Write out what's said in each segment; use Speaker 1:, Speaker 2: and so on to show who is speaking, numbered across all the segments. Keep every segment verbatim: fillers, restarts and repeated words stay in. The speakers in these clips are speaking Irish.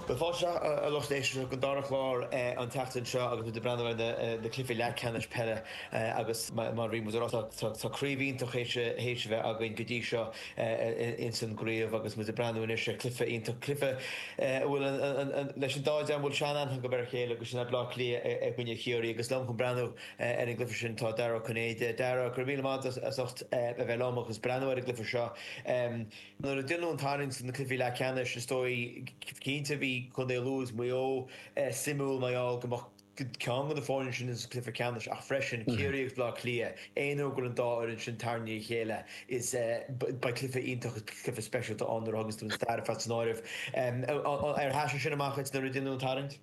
Speaker 1: Bhuel, fáilte a lucht éisteachta don dara chlár an tseachtain seo agus muid ag breathnú ar na cluichí leathcheannais peile agus mar a bhí muid ag rá tá craobh iontach théis a bheith againn go dtí seo ins an gcraobh agus muid ag breathnú anois ar chluiche iontach, cluiche a bhfuil leis an dá dream a bhfuil sean-aithne acu ar a chéile agus sin é Bleá Cliath i gcoinne Chiarraí agus liom chun breathnú ar an gcluiche sin tá Dara Ó Cinnéide. Dara, go raibh míle maith agat as ucht a bheith liom agus breathnú ar an gcluiche seo. Nuair a deineadh an tarraingt sna cluichí leathcheannais, is dóigh, cinnte bhí Contae Lú agus Maigh Eo suimiúil mar gheall go mbeadh ceann de na foirne sin sa chluiche ceannais ach freisin Ciarraí agus Bleá Cliath, aon uair go bhfuil an dá fhoireann sin tarraingthe le chéile is beidh cluiche iontach agus cluiche speisialta ann nuair a thuganns tú an stair ar fad san áireamh. Ar thaitin sin amach duit nuair a deineadh an tarraingt?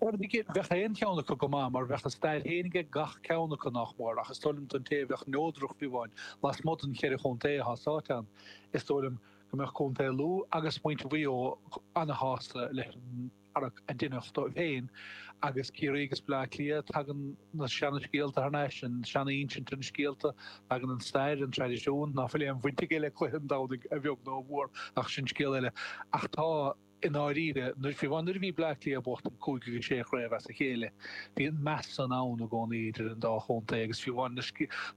Speaker 2: Bheadh aon cheann acu go maith mar bheadh a stair féin ag gach ceann acu nach mór ach is dóigh liom don té a bheadh neodrach fiú amháin lasmuigh den cheithre chontae atá sáite ann, is dóigh liom go mbeadh Contae Lú agus muintir Mhaigh Eo ana-shásta leis an tarrac a deineadh dóibh féin agus Ciarraí agus Bleá Cliath, tagann na seana-scéalta thar n-ais, an seana-insint ar na scéalta, tagann an stair, an traidisiún, ná fuil aon bhaint aige le cluiche an Domhnaigh a bheag nó a mhór ach sin scéal eile. Ach tá. I ndáiríre, nuair, fiú amháin nuair a bhí Bleá Cliath ag buachtaint cúig agus sé chraobh as a chéile, bhí an meas san ann i gcónaí idir an dá chontae agus fiú amháin na,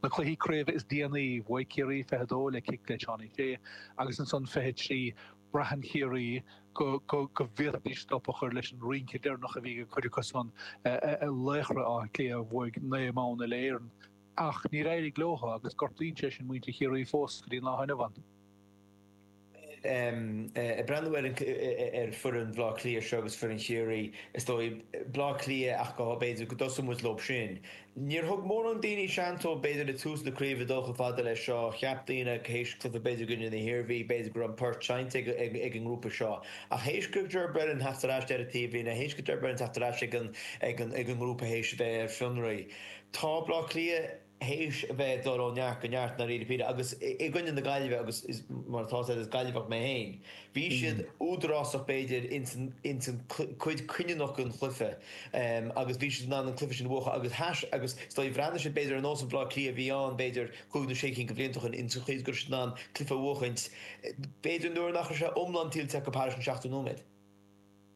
Speaker 2: na cluichí craoibhe is déanaí, bhuaigh Ciarraí fiche a dó le cic le Seánie Shea agus ansan fiche a trí, braitheann Ciarraí go, go, go bhféadfaidís stop a chur leis an rince deireanach a bhí ag cuid acu san, laochra Átha Cliath a bhuaigh naoi mbonn uile-Éireann. Ach níor éirigh leo agus gortaíonn sé sin muintir Chiarraí fós go dtí an lá inniu ann.
Speaker 1: Ag breathnú ar ar foireann Bhaile Átha Cliath seo agus foireann Chiarraí, is dóigh, Bleá Cliath ach go b'fhéidir go dtosóidh muid leo sin. Níor thug mórán daoine seans dóibh b'fhéidir ag tús na craoibhe dul chomh fada leis seo. Cheap daoine théis cluiche b'fhéidir i gcoinne na hIarmhí, b'fhéidir go raibh an port seinnte ag an ngrúpa seo. Ach théis go Ger Brennan theacht ar ais ar an taobhlíne, théis go Ger Brennan teacht ar ais ag an ag an ag an ngrúpa théis a bheith ar fionraí, tá Bleá Cliath, théis a bheith ag dul ó neart go neart i ndáiríre píre agus i gcoinne na Gaillimhe agus is mar atá sé is Gaillimheach mé féin bhí siad údarásach b'fhéidir ins an ins an cuid cinniúnach den chluiche agus bhí siad in ann an cluiche sin a bhuachan agus thais agus is dóigh bhreathnaigh siad b'fhéidir ar nós an Bhleá Cliath a bhí ann b'fhéidir cúig nó sé cinn de bhlianta ó shin ins an chaoi is go raibh siad in ann cluiche a bhuachaint b'fhéidir nuair nach raibh sé iomlán tuillte acu thairis an seachtó nóiméad.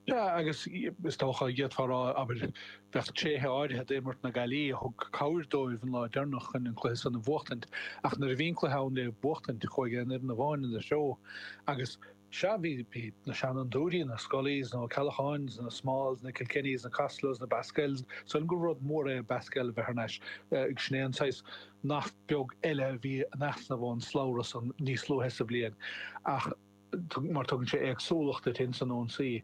Speaker 2: Sea, agus is dócha, d'fhéadfá a rá, abair, bheadh tréithe áirithe d'imirt na Gaillimhe a thug cabhair dóibh an lá deireanach chun an cluiche san a bhuachtaint, ach nuair a bhí an cluiche ann le buachtaint, chuaigh aon fhoireann amháin ina threo. Agus, sea, bhí, bhí na seanfhondúirí, na Scullys, na Ó Ceallacháins, na Smalls, na Kilkennys, na Costellos, na Basquels, is dóigh liom gur rud mór é Basquel a bheith thar n-ais, sin é an saghas nath beag eile a bhí in easnamh ón slabhra san níos luaithe sa bhliain. Ach. mar tugann sé éagsúlacht duit ins an ionsaí.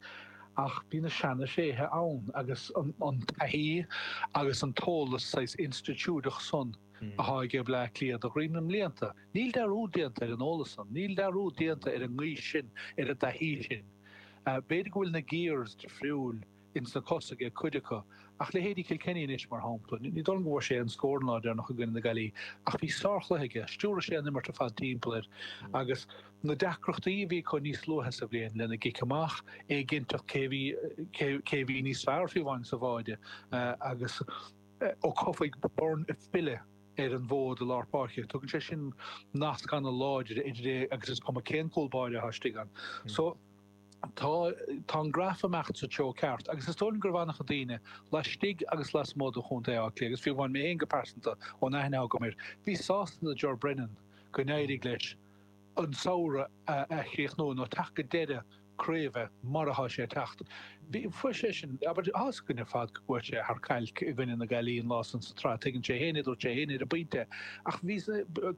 Speaker 2: Ach bhí na seana-thréithe ann agus an taithí agus an t-eolas saghas institiúideach san athá aige Bleá Cliath de dhroim na mblianta. Níl dearúd déanta ar an eolas san, níl dearúd déanta ar an ngaoth sin, ar an dtaithí sin. B'fhéidir go bhfuil na gears difriúil ins na cosa aige cuid acu. Ach leithéidí Kilkenny anois, mar shampla, ní dóigh liom go bhfuair sé aon scór an lá deireanach i gcoinne na Gaillimhe, ach bhí sárchluiche aige, stiúraigh sé an imirt ar fad timpeall air agus na deacrachtaí a bhí acu níos luaithe sa bhliain lena gcic amach, éiginnteacht cé bhí cé bhí níos fearr fiú amháin sa bháide agus Ó Cofaigh, Byrne ag filleadh ar an bhfód i lár páirce. Tugann sé sin nasc ana-láidir idir é agus is cuma cén cúl báire atá istigh ann. So. Tá, tá an graf ag imeacht sa treo ceart agus is dóigh liom go raibh an-chuid daoine, laistigh agus lasmuigh de Chontae Átha Cliath, agus fiú amháin mé féin go pearsanta, ón aithne atá agam air, bhí sásta do Ger Brennan go n-éirigh leis an samhradh a chríochnú nó teacht go deireadh craoibhe mar atá sé ag teacht. Bhí, fuair sé sin, abair, tá fhios againn ar fad go gcuaigh sé thar cailc i gcoinne na Gaillimhe an lá san sa tsraith, tuigeann sé féin é, dúirt sé féin ar an bpointe, ach bhí,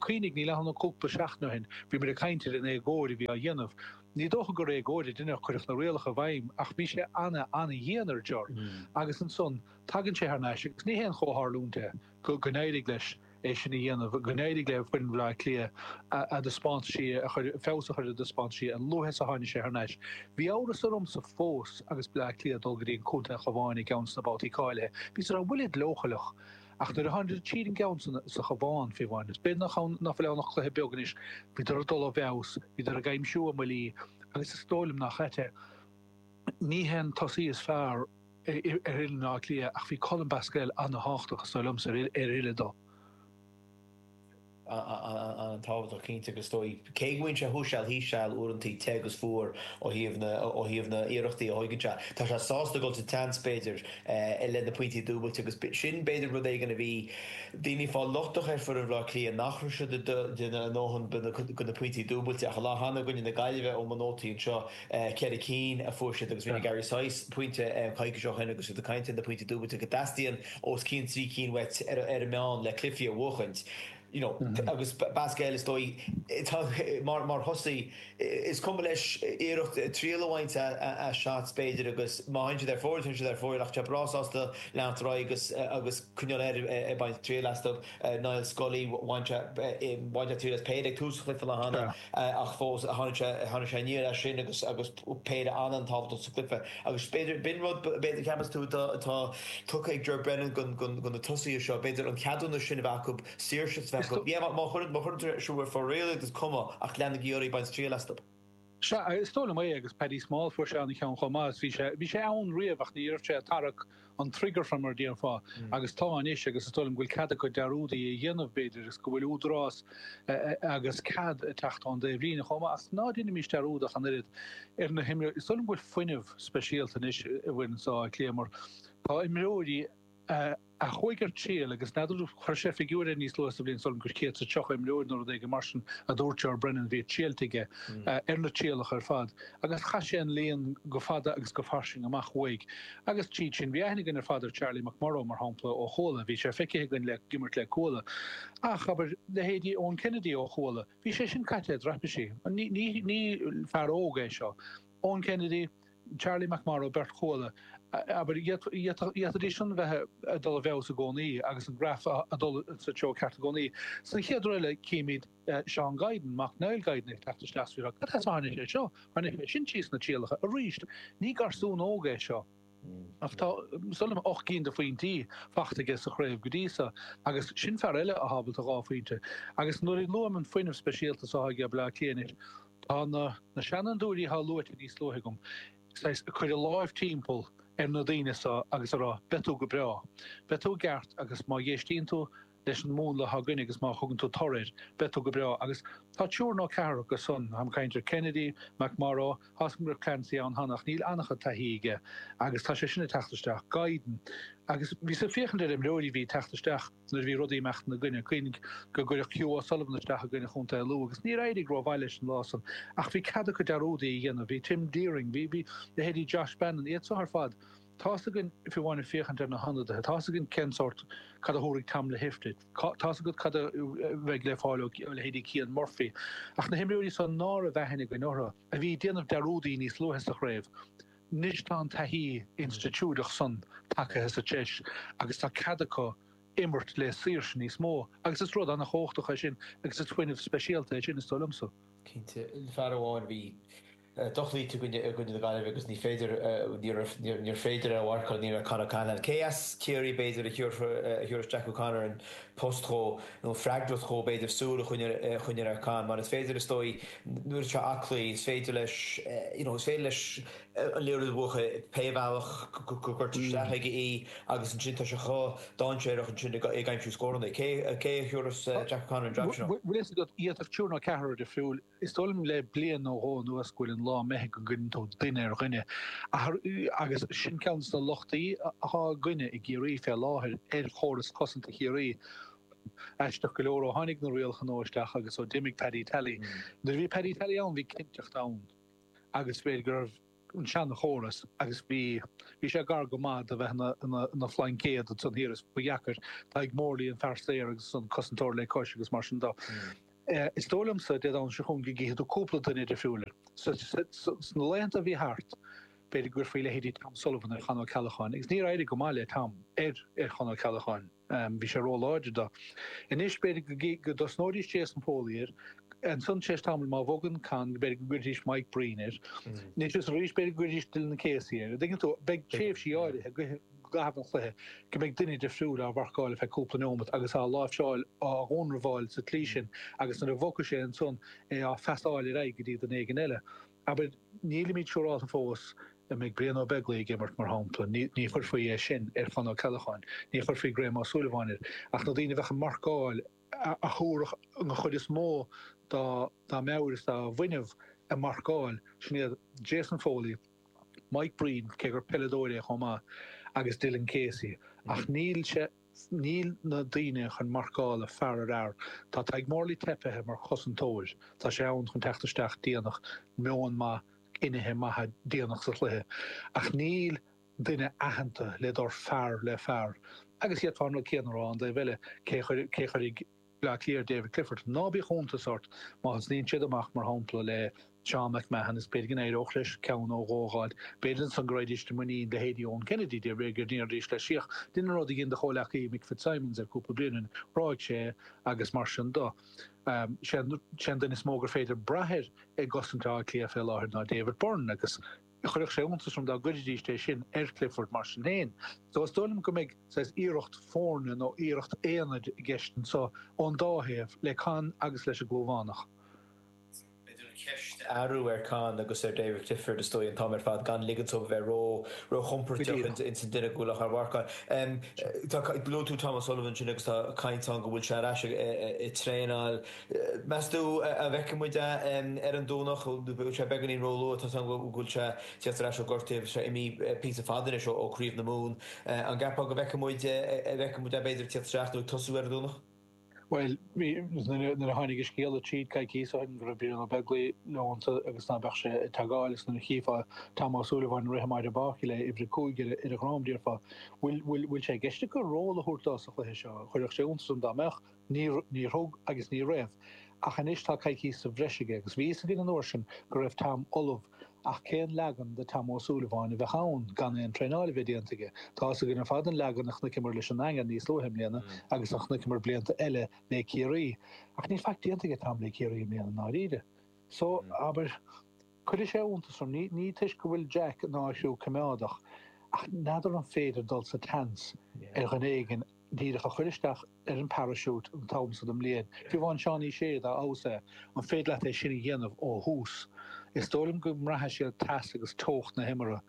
Speaker 2: cuimhnigh, níl ann ach cúpla seachtain ó shin, bhí muid ag caint ar an éagóir a bhí á dhéanamh. Ní dócha gur éagóir a deineadh, cuireadh na rialacha i bhfeidhm ach bhí sé ana, ana-dhian ar Ger agus ansan tagann sé thar n-ais agus ní haon chomhtharlúint é go n-éirigh leis é sin a dhéanamh, go n-éirigh le foireann Bhaile Átha Cliath a dtaispeántaisí a chur, feabhas a chur ar a dtaispeántaisí a luaithe is a tháinig sé thar n-ais. Bhí amhras ormsa fós agus Bleá Cliath ag dul go dtí an Contae an Chabháin i gceann de na babhtaí cáilithe. Bhíos ag rá, bhfuilid leochaileach? Ach nuair a tháinig tríd an gceann san sa Chabhán, fiú amháin, is b'fhéidir nach ann, nach bhfuil ann ach cluiche beag anois, bhíodar ag dul i bhfeabhas, bhíodar ag aimsiú a mbuillí agus is dóigh liom nach ait é, ní hé an tosaí is fearr ar fhoireann Átha Cliath ach bhí Colm Basquel an-thábhachtach, is dóigh liomsa, ar fhilleadh dó.
Speaker 1: An-tábhachtach cinnte agus is dóigh, cé go mbíonn sé thuas seal thíos seal uaireantaí te agus fuar ó thaobh na ó thaobh na iarrachtaí a thóigeann sé, tá sé sásta dul sa tseans b'fhéidir i leith na pointí dúbailte agus sin b'fhéidir rud éigin a bhí daoine ag fáil lochtach ar foireann Bhaile Átha Cliath nach raibh siad ag déanamh a ndóthain de na pointí dúbailte ach an lá cheana i gcoinne na Gaillimhe ó mo nótaí anseo ceithre cinn a fuair siad agus rinne Gary Sice pointe coicís ó shin agus iad ag caint ar na pointí dúbailte go dteastaíonn os cionn trí cinn uait ar an meán le cluichí a bhuachaint you know agus Basquel is dóigh tá mar mar thosaí is cuma leis iarracht triail a bhaint as shots b'fhéidir agus má théann siad ar fóraoil téann siad ar fóraoil ach tá breá sásta leanacht ar aghaidh agus agus coinneáil air ag baint triail astu. Niall Scully bhain sé bhain sé triail as péire ag tús an chluiche an lá cheana ach fós tháinig sé tháinig sé aniar as sin agus agus péire an-an-tábhachtach sa chluiche agus b'fhéidir b'in rud b'fhéidir ceapas tú atá tugtha ag Ger Brennan go go na tosaithe seo b'fhéidir an ceadúnas sin a bheith acu saoirse a bheith acu. Yeah má chuireann má chuireann tú ar fóraoil iad is cuma ach leanaigí oraibh ag baint triail astu.
Speaker 2: Sea, is dóigh liom é agus Paddy Small fuair sé an-cheann chomh maith. Bhí sé bhí sé ann riamh ach ní raibh sé ag tarrac an trigger fé mar a déarfá agus tá anois agus is dóigh liom go bhfuil cead acu dearúdaí a dhéanamh b'fhéidir agus go bhfuil údarás agus cead ag teacht ón dtaobhlíne chomh maith ach ná déanaimis dearúd ach an oiread ar na himreoirí. Is dóigh liom go bhfuil fuinneamh speisialta anois i bhfoireann seo Átha Cliath mar tá imreoirí a a chuaigh ar triail agus n'fheadar, chuir sé figiúr air níos luaithe sa bhliain is dóigh liom gur céad is a tríocha imreoir nó rud éigin mar sin a dúirt Ger Brennan a bhí triailte aige ar na trialacha ar fad agus chaith sé an líon go fada agus go fairsing amach uaidh agus tríd sin bhí aithne againn ar fad ar Charlie McMorrow mar shampla ó Chuala, bhí sé feicthe againn le ag imirt le Cuala ach abair leithéidí Eoin Kennedy ó Chuala, bhí sé sin caite i dtraipisí. Ní ní ní fear óg é seo. Eoin Kennedy, Charlie McMorrow, beirt Chuala, abair, d'fhéadfaidís sin bheith ag dul i bhfeabhas i gcónaí agus an graf ag dul sa treo ceart i gcónaí. Sa chéad rud eile, címid Seán Guidon, mac Niall Guidon, ag teacht isteach is cad as a tháinig sé seo? Tháinig sé sin síos na trialacha arís. Ní garsún óg é seo. Ach tá, is dóigh liom, ocht gcinn de phointí faighte aige sa chraobh go dtí seo agus sin fear eile atá ábalta dhá phointe. Agus nuair a luaim an fuinneamh speisialta so atá ag Bleá Cliath anois, tá na na seanfhondúirí atá luaite níos luaithe agam, saghas, ag cur a láimh timpeall ar na daoine so agus a rá, beidh tú go breá, beidh tú i gceart agus má dh'éistíonn tú leis an múnla atá againn agus má thugann tú toradh air, beidh tú go breá. Agus tá triúr nó ceathrar acu san, táim ag caint ar Kennedy, McMorrow, tá 'fhios agam go raibh Clancy ann cheana ach níl an-chuid taithí aige agus tá sé sin ag teacht isteach, Guidon. Agus bhíos ag féachaint ar imreoirí a bhí ag teacht isteach nuair a bhí rudaí ag imeacht ina gcoinne. Cuimhnigh go gcuireadh Hugh O'Sullivan isteach i gcoinne Chontae Lú agus níor éirigh rómhaith leis an lá san ach bhí cead acu dearúdaí a dhéanamh. Bhí Tim Deering, bhí, bhí leithéidí Josh Bannon, iad so ar fad. Tá's againn, fiú amháin ag féachaint ar na hionadaithe, tá's againn cén sórt, cad a thabharfaidh Tom Lahiff duit, tá's agat cad a bheidh le fáil ó leithéidí Cian Murphy. Ach na himreoirí san ná raibh aithne againn orthu, a bhí ag déanamh dearúdaí níos luaithe sa chraobh, anois tá an taithí institiúideach san tagaithe sa treis agus tá cead acu imirt le saoirse níos mó agus is rud an-chumhachtach é sin agus is fuinneamh speisialta é sin, is dóigh liomsa.
Speaker 1: Cinnte, fear amháin a bhí dochloíte i gcoinne na Gaillimhe agus ní féidir, níor féidir é a mharcáil, ní raibh Con O'Callaghan. Cé as Ciarraí b'fhéidir a thiúrfas Jack O'Connor an post dhó, nó an freagracht dhó b'fhéidir súil a choinneáil ar Con, mar is féidir is dóigh nuair atá sé aclaí is féidir leis, you know, is féidir leis an liathróid a bhuachan pé bhealach go gcuirtear isteach aige í agus ansin tá sé chomh dainséarach ansin ag aimsiú scóranna. Cé a thiúrfas Jack O'Connor an jab sin dhó?
Speaker 2: Bhfuil fhios agat, d'fhéadfadh triúr nó ceathrar difriúil Is dóigh liom le bliain nó dhó anuas go bhfuil an lá imithe go gcuireann tú duine ar dhuine agus sin ceann de na lochtaí atá againne i gCiarraí fé láthair ar chóras cosanta Chiarraí. Aisteach go leor ó tháinig na rialacha nua isteach agus ó d'imigh Paddy Tally. Nuair a bhí Paddy Tally ann bhí cinnteacht ann agus b'fhéidir go raibh an seanchóras agus bhí, bhí sé gar go maith do bheith ina, ina, ina phlaincéad ansan thiar is ba dheacair Tadhg Morley an fear saor agus an cosantóir le cois agus mar sin de. Is dóigh liomsa, Dé Domhnaigh seo chugainn go gcífidh tú cúpla duine difriúil air. Sna laethanta a bhí thart, b'fhéidir go gcuirfí leithéidí Tom Sullivan ar Chon Ó Ceallacháin agus níor éirigh go maith le Tom ar ar Chon Ó Ceallacháin. Bhí sé róláidir dó. Anois b'fhéidir go dtosnóidís Jason Foley air, ansan tar éis tamaill má bhogann Con b'fhéidir go gcuirfidís Mike Breen air. Anois is arís b'fhéidir go gcuirfidís Dylan Casey air. An dtuigeann tú, beidh tréimhsí áirithe i gcaitheamh an chluiche go mbeidh duine difriúil á mharcáil ar feadh cúpla neomat agus á láimhseáil, á dhúnrabháil sa tslí sin agus nuair a bhogfaidh sé ansan é á phasáil ar aghaidh go dtí duine éigin eile. Abair, nílimid siúrálta fós an mbeidh Brian Ó Beaglaoich ag imirt, mar shampla. Ní chuirfí é sin ar Chon Ó Ceallacháin. Ní chuirfí Graham Ó Súilleabháin air. Ach na daoine a bheadh ag marcáil a thabharfadh an chuid is mó dá dá meabhair is dá bhfuinneamh ag marcáil, sin iad Jason Foley, Mike Breen, cé gur peileadóir é chomh maith, agus Dylan Casey. Ach níl sé, níl na daoine chun marcála fear ar fhear. Tá Tadhg Morley teipithe mar chosantóir. Tá sé ann chun teacht isteach déanach, meon maith, cinnithe maithe déanach sa chluiche. Ach níl duine aitheanta le dul fear le fear. Agus d'fhéadfá an rud céanna a rá an taobh eile, cé a chuirfidh Bleá Cliath ar David Clifford? Ná bíodh iontas ort má thosnaíonn siad amach, mar shampla, le Seán McMahon is b'fhéidir go n-éireodh leis ceann nó dhó a dh'fháilt. B'fhéidir ansan go raghaidís i muinín leithéidí Eoin Kennedy, de réir go ndéarfaidís leis Féach, dhein an rud a dhein do chomhleacaí Mick Fitzsimons ar cúpla bliain ó shin, thráigh sé é agus mar sin do. Sé an duine is mó gur féidir brath air i gcosaint Átha Cliath fé láthair ná David Byrne agus chuirfeadh sé iontas orm dá gcuirfidís é sin ar Clifford mar sin féin. So is dóigh liom go mbeidh saghas iarracht foirne nó iarracht aonaid i gceist anseo ón dá thaobh, le Con agus leis an gClúmhánach.
Speaker 1: B'fhéidir an cheist a athrú ar Con agus ar David Clifford is dóigh an t-am ar fad gan ligint dóibh a bheith ró róchompordach ins an duine go bhfuil á mharcáil. Tá luaigh tú Tom O'Sullivan ansin agus tá caint ann go bhfuil sé ar ais ag traenáil. Meas tú an bhfeicfidh muid é ar an Domhnach? Bhfuil sé beagáinín róluath? Tá a fhios agam go bhfuil sé ag teacht ar ais ó ghortú agus sé imithe píosa fada anois ó Chraobh na Mumhan. An gceapfá go bhfeicfidh muid an bhfeicfidh muid é b'fhéidir ag teacht isteach nó ag tosú ar an Domhnach?
Speaker 2: Bhuel, nuair a tháinig an scéala tríd coicíos ó shin go raibh Brian Ó Beaglaoich leonta agus ná beadh sé ag teagáil agus nuair a chífeá Tom Ó Súilleabháin ag rith amach ar an bpáirc le uimhir a cúig ar a dhrom, déarfá, bhfuil, bhfuil, bhfuil sé i gceist acu ról a thabhairt dó sa chluiche seo? Chuirfeadh sé iontas orm dá mbeadh. Níor thug agus ní raibh. Ach anois tá coicís sa bhreis aige agus bhí fhios againn an uair sin go raibh Tom ullamh ach cén leagan de Tom Ó Súilleabháin a bheadh ann gan aon traenáil a bheith déanta aige? Tá fhios againn ar fad an leagan a chonaiceamar leis an nDaingean níos luaithe i mbliana agus a chonaiceamar blianta eile le Ciarraí. Ach níl faic déanta aige Tom le Ciarraí i mbliana i ndáiríre. So, abair, cuirfidh sé iontas orm, ní toisc go bhfuil Jack ná a chriú coimeádach, ach n'fheadar an féidir dul sa tseans ar dhuine éigin díreach a chur isteach ar an parachute an t-am so den mbliain. Fiú amháin Seánie Shea dá fheabhas é, an féidir leat é sin a dhéanamh ó thús? Is dóigh liom go mbraithfidh siad teas agus teocht na himeartha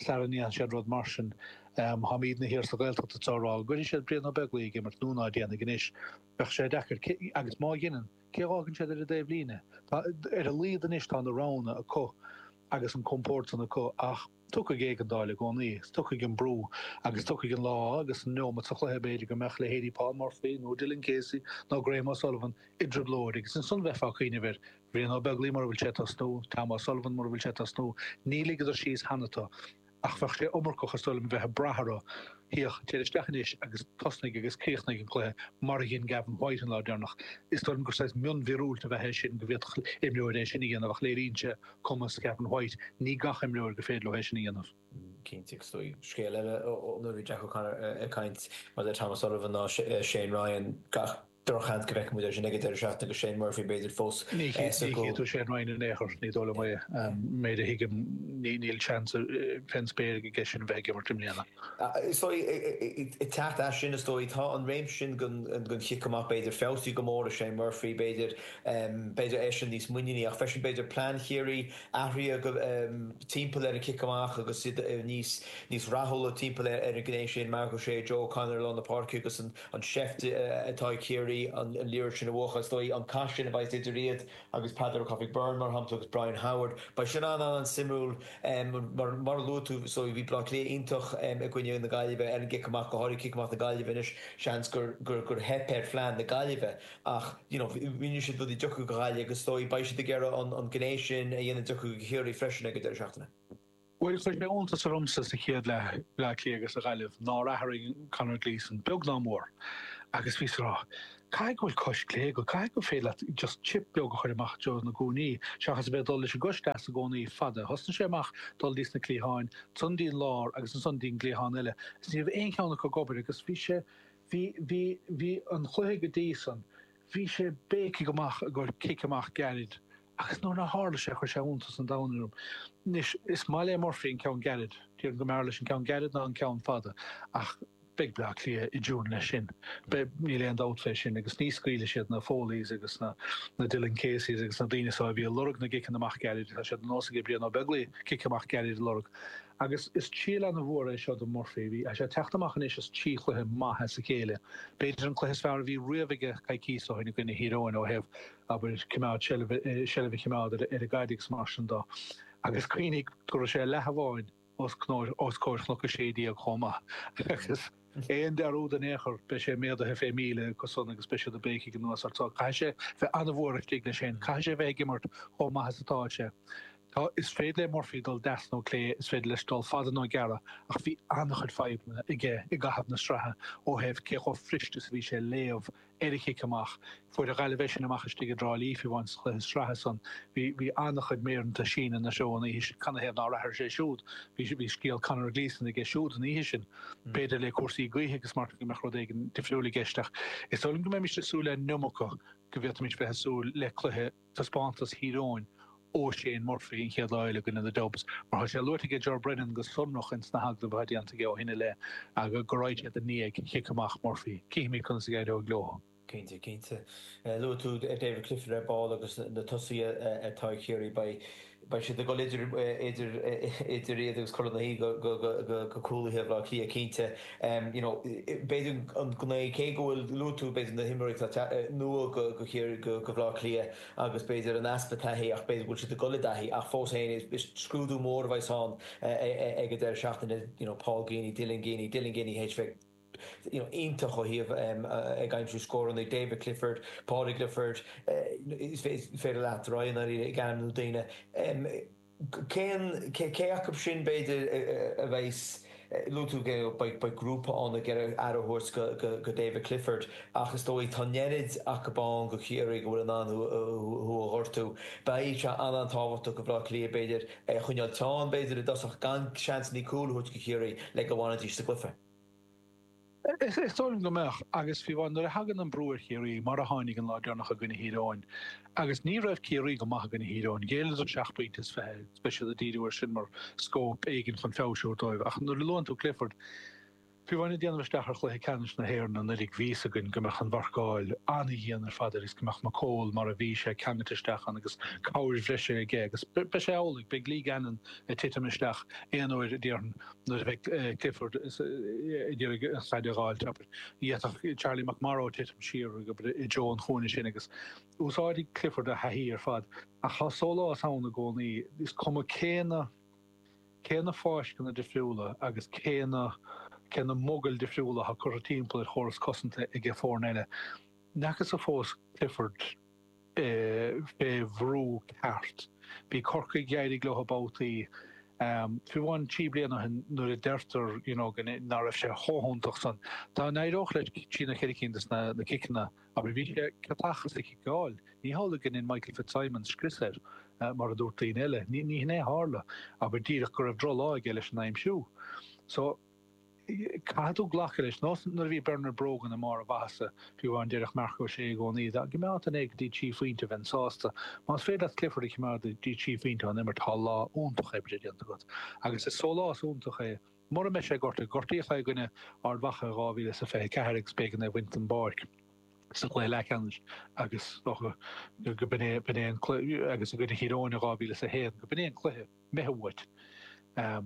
Speaker 2: sara ndéanfaidh siad rud mar sin. Táimidne thiar sa Ghaeltacht atá ag rá go gcuirfidh siad Brian Ó Beaglaoich ag imirt nó ná déanfaidh anois. Bheadh sé deacair. Agus má dheineann, cé a dh'fhágann siad ar an dtaobhlíne? Tá, ar a laghad anois tá na roghanna acu agus an compord san acu ach, Tiocfaidh éigeandáil i gcónaí, is tiocfaidh an brú, agus tiocfaidh an lá agus an neomat sa chluiche b'fhéidir go mbeadh leithéidí Paul Murphy nó Dylan Casey nó Graham O'Sullivan i dtrioblóid agus ansan bheifeá ag cuimhneamh ar Bhrian Ó Beaglaoich mura bhfuil sé ag tosnú, Tom O'Sullivan mura bhfuil sé ag tosnú. Ní ligeadar síos cheana tú. Ach bheadh sé iomarcach is dóigh liom a bheith ag brath orthu. Féach, téir isteach anois agus tosnaigh agus críochnaigh an cluiche mar a dhein Gavin White an lá deireanach. Is dóigh liom gur saghas mionmhíorúilt ab ea é sin go bhféadfadh imreoir é sin a dhéanamh ach léiríonn sé cumas Gavin White. Ní gach imreoir gur féidir leo é sin a dhéanamh.
Speaker 1: Cinnte, agus is dóigh scéal eile nuair a bhí Jack O'Connor ag caint maidir le Tom O'Sullivan ná Shane Ryan, gach drochsheans go bhfeicfidh muid é sin ag an deireadh seachtaine agus Shane Murphy b'fhéidir fós
Speaker 2: Ní chífidh tú Shane Ryan in aon chor, ní dóigh liom é. Méid a thuigim, níl seans fén spéir aige sin a bheith ag imirt i mbliana.
Speaker 1: Is dóigh, ag teacht as sin, is dóigh, tá an réimse sin den chic amach b'fhéidir feabhsaithe go mór ag Shane Murphy, b'fhéidir, b'fhéidir eisean níos muiníní ach freisin b'fhéidir plean Chiarraí athraithe go timpeall ar an chic amach agus iad níos níos rathúla timpeall ar an ghné sin, Marc Ó Sé, Joe O'Connor i lár na páirce agus an an seift atá ag Ciarraí an liathróid sin a bhuachan, is dóigh, an cath sin a bheas idir iad agus Peadar Ó Cofaigh Byrne, mar shampla, agus Brian Howard. Beidh sin an-an-suimiúil. Mar mar a luaigh tú, is dóigh, bhí Baile Átha Cliath iontach i gcoinne na Gaillimhe ar an gcic amach, go háirithe cic amach na Gaillimhe. Anois, seans gur gur gur theip ar phlean na Gaillimhe ach, you know, rinne siad rudaí deacair do Ghaillimh agus is dóigh, beidh siad ag iarraidh an an ghné sin a dhéanamh deacair do Chiarraí freisin ag an deireadh seachtaine.
Speaker 2: Bhuel, chuir sé iontas ormsa sa chéad leath, Bleá Cliath agus an Ghaillimh, nár athraigh Conor Gleeson, beag ná mór. Agus bhíos ag rá, caithfidh go bhfuil cois clé agat, caithfidh gur féidir leat just chip beag a chur amach i dtreo na gcúinní, seachas a bheith ag dul leis an gcois deas i gcónaí, fada. Thosnaigh sé amach dul dtí sna cliatháin, ansan dtí an lár agus ansan dtí an gcliathán eile. Is ní raibh aon cheann acu ag obair agus bhí sé, bhí, bhí, bhí an chluiche go dtí san, bhí sé béicigh amach i gcomhair cic amach gairid. Agus nuair nár tharla sé, chuir sé iontas an domhain orm. Anois, is maith le Murphy an ceann gairid. Déarfainn go mb'fhearr leis an ceann gairid ná an ceann fada. Ach Beidh Bleá Cliath i dtiúin leis sin. Beidh, níl aon dabht fé sin, agus ní scaoilfidh siad na Foleys agus na na Dylan Caseys agus na daoine so a bhí ag lorg na gciceanna amach gairid, tá sé de nós aige Brian Ó Beaglaoich cic amach gairid a lorg. Agus is triail ana-mhór é seo do Murphy. Bhí, tá sé ag teacht amach anois as trí chluiche maith as a chéile. B'fhéidir an cluiche is fearr a bhí riamh aige coicíos ó shin i gcoinne Thír Eoghain ó thaobh, abair, cimeád seilbh, seilbh a chimeád ar an gcaid agus mar sin dó. Agus cuimhnigh go raibh sé leath amháin os comhair Chnoc a Sé Déag chomh maith agus aon dearúd in aon chor beidh sé méadaithe fé mhíle acu san agus beidh siad ag béicigh anuas ort so caithfidh sé bheith an-mhór istigh leis féin, caithfidh sé bheith ag imirt chomh maith is atá sé. Tá, is féidir le Murphy dul deas nó clé, is féidir leis dul fada nó gearra ach bhí an-chuid fadhbanna aige i gcaitheamh na sraithe ó thaobh cé chomh fuirist is a bhí sé léamh ar a chic amach. Fuair an Ghaillimh é sin amach istigh i dTrá Lí, fiú amháin sa chluiche sraithe san. Bhí bhí an-chuid méireanta síneadh ina threo an oíche sin. Canathaobh nár athraigh sé siúd? Bhí bhí scéal Conor Gleeson aige siúd an oíche sin. B'fhéidir le cúrsaí gaoithe agus mar go mbeadh rud éigin difriúil i gceist ach is dóigh liom go mbeimis ag súil le an iomarca go bhféadfaimis bheith ag súil le cluiche taispeántas Thír Eoghain ó Shane Murphy an chéad lá eile i gcoinne na Dubs, mar tá sé luaite aige Ger Brennan go sonrach ins na hagallaimh atá déanta aige ó shin i leith go raghaidh siad i ndiaidh chic amach Murphy. Cífimid conas a éireoidh leo.
Speaker 1: Cinnte, cinnte. Luaigh tú David Clifford ar ball agus na tosaithe atá ag Ciarraí. Beidh beidh siad ag dul idir idir idir iad agus Corn na hAoi go go go go cúlaithe Bhaile Átha Cliath cinnte. You know, b'fhéidir an gné cé go bhfuil luaigh tú b'fhéidir na himreoirí atá nua go go Ciarraí go go Bhaile Átha Cliath agus b'fhéidir an easpa taithí ach b'fhéidir go bhfuil siad ag dul i dtaithí ach fós féin is scrúdú mór a bheas ann ag an deireadh seachtaine, you know, Paul Geaney, Dylan Geaney, Dylan Geaney théis bheith you know, iontach ó thaobh ag aimsiú scóranna, David Clifford, Paudie Clifford, is féidir leat ar aghaidh ag ainmniú daoine. Cén, cé acu sin b'fhéidir a bheas, luaigh tú go beidh beidh grúpa ann ag iarraidh aire a thabhairt go go David Clifford ach is dóigh tá an oiread acu ann go Chiarraí go bhfuil in ann thú thú a ghortú. Beidh sé an-an-tábhachtach go Bhaile Átha Cliath b'fhéidir é a choinneáil teann b'fhéidir i dtosach gan seansanna cúil a thabhairt go Chiarraí le go bhfanfaidís sa gcluiche.
Speaker 2: Is dóigh liom go mbeadh, agus fiú amháin nuair a thagann an brú ar Chiarraí, mar a tháinig an lá deireanach i gcoinne Thír Eoghain, agus ní raibh Ciarraí go maith i gcoinne Thír Eoghain, ghéilleadar seacht bpointe is fiche, agus beidh siad ag díriú air sin mar scóip éigin chun feabhais a thabhairt dóibh. Ach nuair a luann tú Clifford, fiú amháin ag déanamh isteach ar chluiche ceannais na hÉireann anuraidh, bhí fhios againn go mbeadh an mharcáil an-dhian ar fad air agus go mbeadh McCole mar a bhí sé ceangailte isteach ann agus cabhair bhreise aige agus beidh sé amhlaidh, beidh Lee Gannon ag titim isteach aon uair, déarfainn. Nuair a bheidh Clifford ag iarraidh an chaid a dh'fháilt, abair, d'fhéadfadh Charlie McMorrow titim siar i dtreo an chúinne sin agus úsáidfidh Clifford a thaithí ar fad. Ach tá sólás ann i gcónaí, is cuma cé na cé na fáisceanna difriúla agus cé na cé na mogaill difriúla atá curtha timpeall ar chóras cosanta ag foirne eile. N'fheacthas fós Clifford. fé bhrú ceart. Bhí Corcaigh, d'éirigh leo babhtaí, fiú amháin trí bliana ó shin nuair a deirtear you know go ná raibh sé chomh hiontach san. Dá n-éireodh leis trí nó ceithre cinn des na ciceanna, abair, bhí sé ciotach sa chiceáil. Ní hamhlaidh go ndein Michael Fitzsimons scrios air, mar a dúirt daoine eile. Ní hin é a tharla, abair, díreach go raibh drochlá aige leis an aimsiú. So. Caithfidh tú glacadh leis, nós nuair a bhí Bernard Brogan i mbarr a mhaitheasa, fiú amháin déarfadh Marc Ó Sé i gcónaí, dá gcoimeádfainn é go dtí trí phointe bheinn sásta. Más féidir leat Clifford a choimeád go dtí trí phointe ón imirt tá lá iontach oibre déanta agat. Agus is sólás iontach é mura mbeidh sé gortaithe. Gortaíodh é i gcoinne Ard Mhacha i dhá mhíle is a fiche ceathair agus b'éigean é a bhaint den bpáirc sa chluiche leathcheannais agus go b'in é b'in é an cluiche agus i gcoinne Thír Eoghain i dhá mhíle is a haon go b'in é an cluiche imithe uait. Tá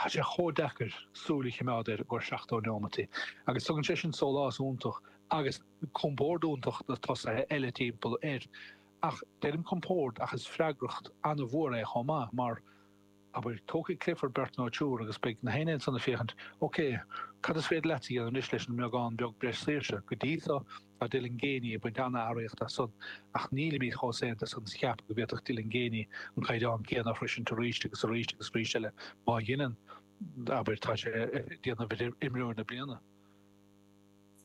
Speaker 2: sé chomh deacair súil a choimeád air i gcomhair seachtó neomataí agus tugann sé sin sólás iontach agus compord iontach do tosaithe eile timpeall air. Ach deirim compord ach is freagracht an-mhór é chomh maith mar, abair, tógfaidh Clifford beirt nó triúr agus beidh na haon ansan ag féachaint, ok, cad is féidir leatsa a dhéanamh anois leis an mbeagán beag breis saoirse? Go dtí so, Tá Dylan Geaney ag baint an-earraíocht as san ach nílimid chomh saonta san is a cheapadh go bhféadfadh Dylan Geaney an caighdeán céanna a shroisint arís agus arís agus arís eile. Má dheineann, abair, tá sé ag déanamh ar imreoir na bliana.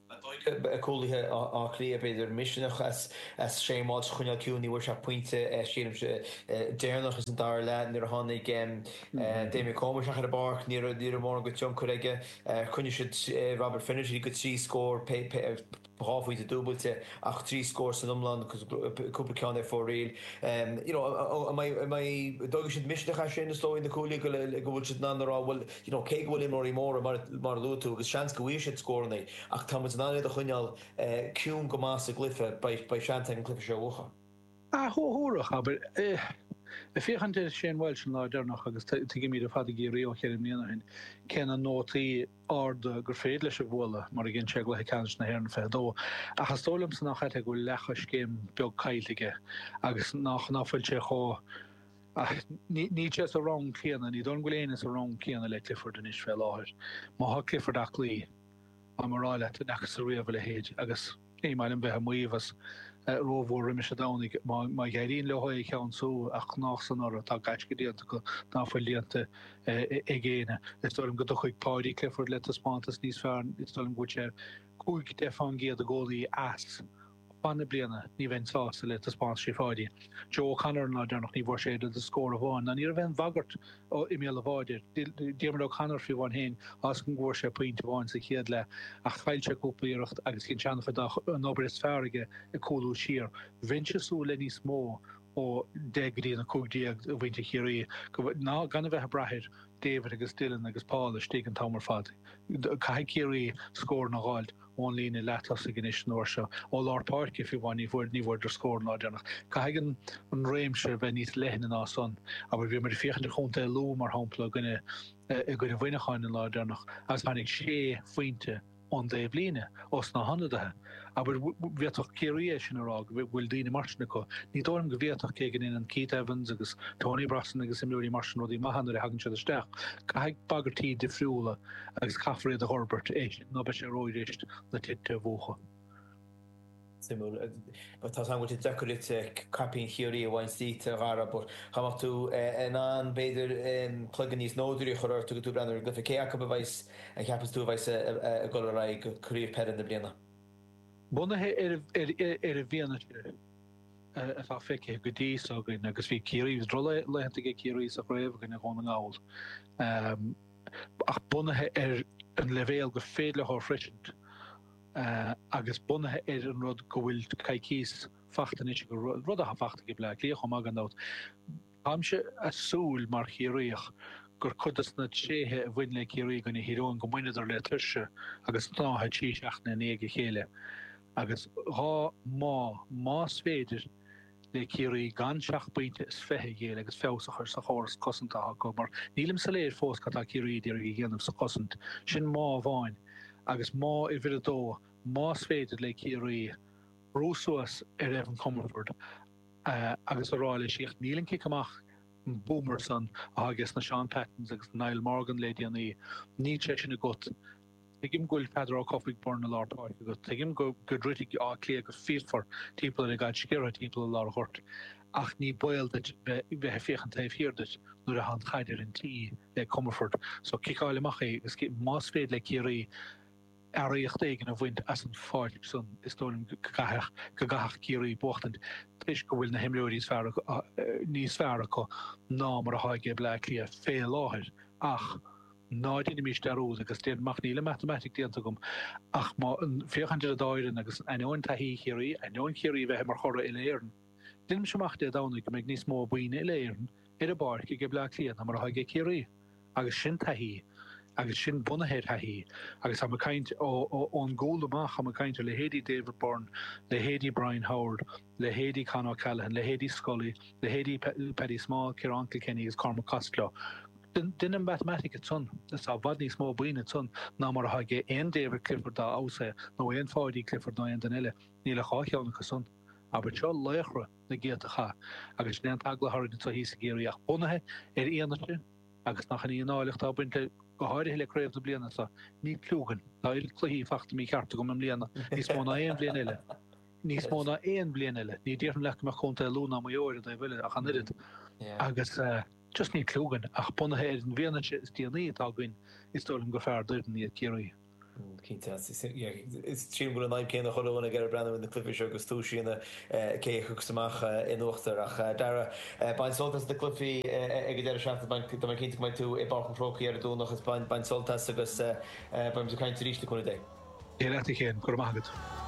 Speaker 1: An dóigh cúlaithe Átha Cliath, b'fhéidir, misneach as Shane Walsh a choinneáil ciúin, ní bhfuair sé ach pointe, sílimse, deireanach ins an dara leath nuair a tháinig Damien Comer isteach ar an bpáirc, ní raibh mórán de thionchar aige. Choinnigh siad Robert Finnerty go trí scór. dhá phointe dúbailte ach trí scór san iomlán cúpla ceann ar fóraoil. You know, an mbeidh, an mbeidh, an dtógfaidh siad misneach as sin is dóigh na cúlaithe go go bhfuil siad in ann a rá bhuel, you know, cé go bhfuil imreoirí móra mar mar a luaigh tú agus seans go bhfaighidh siad scóranna ach tá muid in ann iad a choinneáil ciúin go maith sa gcluiche, beidh, beidh seans ag an cluiche seo a bhuachan.
Speaker 2: Thabharfadh, abair. Ag féachaint ar Shane Walsh an lá deireanach agus tuigimid ar fad i gCiarraí ó cheithre bliana ó shin cé na nótaí arda gur féidir leis a bhualadh mar a dhein sé i gcluiche ceannais na hÉireann fiche a dó. Ach is dóigh liomsa nach ea go bhfuil leathchoiscéim beag caillte aige agus nach ná fuil sé chomh Níl sé sa rang céanna, ní dóigh liom go bhfuil éinne sa rang céanna le Clifford anois fé láthair. Má thá Clifford aclaí, táim a rá leat, ní fhacthas riamh a leithéid agus ní maith liom bheith ag maíomh as rómhór roimis an Domhnaigh. Má éiríonn leo é a cheansú, ach gnách san orthu, tá gaisce déanta acu ná fuil déanta ag éinne. Is dóigh liom go dtiocfaidh Paudie Clifford le taispeántas níos fearr, is dóigh liom go bhfuil sé cúig, deich fán gcéad i gcónaí as. Fan na bliana, ní bheinn sásta le taispeántaisí Pháidí. Joe O'Connor an lá deireanach, ní bhfuair sé oiread is scór amháin, ná ní raibh aon bhagairt i mbéal an bháid air. Diarmuid O'Connor fiú amháin féin, tá 'fhios agam go bhfuair sé pointe amháin sa chéad leath, ach chaill sé cúpla iarracht agus dhein sé an-chuid dá an obair is fearr aige ag cúlú siar. Bheinnse ag súil le níos mó ó deich go dtí an a cúig déag de mhuintir Chiarraí ná gan a bheith ag brath ar David agus Dylan agus Paul istigh an t-am ar fad. Caithfidh Ciarraí scóranna a dh'fháilt ón líne leath-tosaigh anois an uair seo, ó lár páirce fiú amháin, ní bhfuair ní bhfuaireadar scór an lá deireanach. Caithfidh an an réimse bheith níos leithne ná san. Abair, bhí muid ag féachaint ar Chontae Lú, mar shampla, i gcoinne i gcoinne Mhuineacháin an lá deireanach agus tháinig sé phointe ón dtaobhlíne, ós na hionadaithe. Abair, bhféadfadh Ciarraí é sin a rá, go bhfuil daoine mar sin acu. Ní dóigh liom go bhféadfadh, cé go ndéanann Keith Evans agus Tony Brosnan agus imreoirí mar sin rudaí maithe nuair a thagann siad isteach. Caithfidh bagairtí difriúla agus caithfear iad a dh'fhorbairt, é sin nó beidh sé róghirist na tinte a mhúchadh.
Speaker 1: Suimiúil. Tá 's agam go bhfuil sé deacair duit caipín Chiarraí a bhaint díot, a Dhara, but dá mbeadh tú in ann, b'fhéidir, cloigeann níos nódúraí a chur ort agus tú ag breathnú ar an gcluiche, cé acu a bheas, a cheapas tú a bheas ag dul ar aghaidh go craobh peile na bliana?
Speaker 2: Bunaithe ar ar an bhfianaise atá feicthe go dtí so againn, agus bhí Ciarraí, bhí drochlaethanta ag Ciarraí sa chraobh i gcoinne Dhún na nGall, ach bunaithe ar an leibhéal gur féidir leo a shroisint, agus bunaithe ar an rud go bhfuil coicíos fachta anois acu, rud atá fachta ag Bleá Cliath chomh maith gan dabht, táimse a' súil mar Chiarraíoch gur cuid des na tréithe a bhain le Ciarraí i gcoinne Thír Eoghain go mbaineadar le tuirse agus snáithe trí seachtaine i ndiaidh a chéile agus dhá má, más féidir le Ciarraí gan seacht bpointe is fiche a ghéilleadh agus feabhas a chur sa chóras cosanta atá acu mar nílim soiléir fós cad tá Ciarraí ag iarraidh a dhéanamh sa chosaint. Sin má amháin agus má uimhir a dó, más féidir le Ciarraí brú suas ar Evan Comerford agus a rá leis íoch níl an cic amach an boomer san atá aige sna Shaun Pattons agus Niall Morgan le déanaí, níl sé sin agat. Tuigim go bhfuil Peadar Ó Cofaigh Byrne i lár páirce agat, tuigim go go dtroidfidh Áth Cliath go fíochmhar timpeall ar an gcaid sciorrtha timpeall i lár an ghoirt, ach ní baol duit bheith bheith ag féachaint taobh thiar duit nuair atá an chaid ar an tí le Comerford. So ciceáil amach é agus más féidir le Ciarraí earraíocht éigin a bhaint as an pháirc san is dóigh liom go gcaithfeadh go gcaithfeadh Ciarraí buachtaint toisc go bhfuil na himreoirí is fearr níos fearr acu ná mar atá ag Bleá Cliath fé láthair ach Ná déanaimis dearúd, agus déarfainn amach, níl an matamaitic déanta agam, ach má féachaint ar an dá fhoireann agus ainneoin taithí Chiarraí, ainneoin Chiarraí a bheith mar churaidh uile-Éireann, déanaimse amach Dé Domhnaigh go mbeidh níos mó daoine uile-Éireann ar an bpáirc ag Bleá Cliath ná mar atá ag Ciarraí. Agus sin taithí, agus sin bunaithe ar thaithí, agus táim ag caint ón gcúl amach, táim ag caint ar leithéidí David Byrne, leithéidí Brian Howard, leithéidí Con O'Callaghan, leithéidí Scully, leithéidí Paddy Small, Ciarán Kilkenny agus Cormac Costello. Déan an mhatamaitic ansan, is tá i bhfad níos mó daoine ansan ná mar atá ag aon David Clifford dá fheabhas é, nó aon Pháidí Clifford nó aon duine eile. Níl ach dhá cheann acu san. Abair seo laochra na gcéadta chath, agus sin é an t-eagla atá orainn anseo thíos i gCiarraí, ach bunaithe ar fhianaise, agus nach in í an áilleacht atá ag baint le, go háirithe le craobh na bliana seo, níl cliú againn. Tá oiread cluichí fachta mícheart agam i mbliana, níos mó ná aon bhliain eile. Níos mó ná aon bhliain eile. Ní déarfainn leat go mbeadh Contae Lú ná Maigh Eo ar an dtaobh eile ach an oiread. Agus just níl cliú againn, ach bunaithe ar an bhfianaise is déanaí atá againn, is dóigh liom gur fearr d'fhoireann iad Ciarraí.
Speaker 1: Cinnte. Is sílim go bhfuil an fhadhb céanna chuile dhuine ag iarraidh breathnú ar na cluichí seo agus tomhas a dhéanamh cé a thiocfas amach in uachtar. Ach Dara, bain sult as na cluichí ag an deireadh seachtaine. Tá mé cinnte go mbeidh tú i bPáirc an Chrócaigh ar an Domhnach agus bain sult as agus beidh muid ag caint arís le cúnamh Dé.
Speaker 2: Dia leat a Chéin, go raibh maith agat.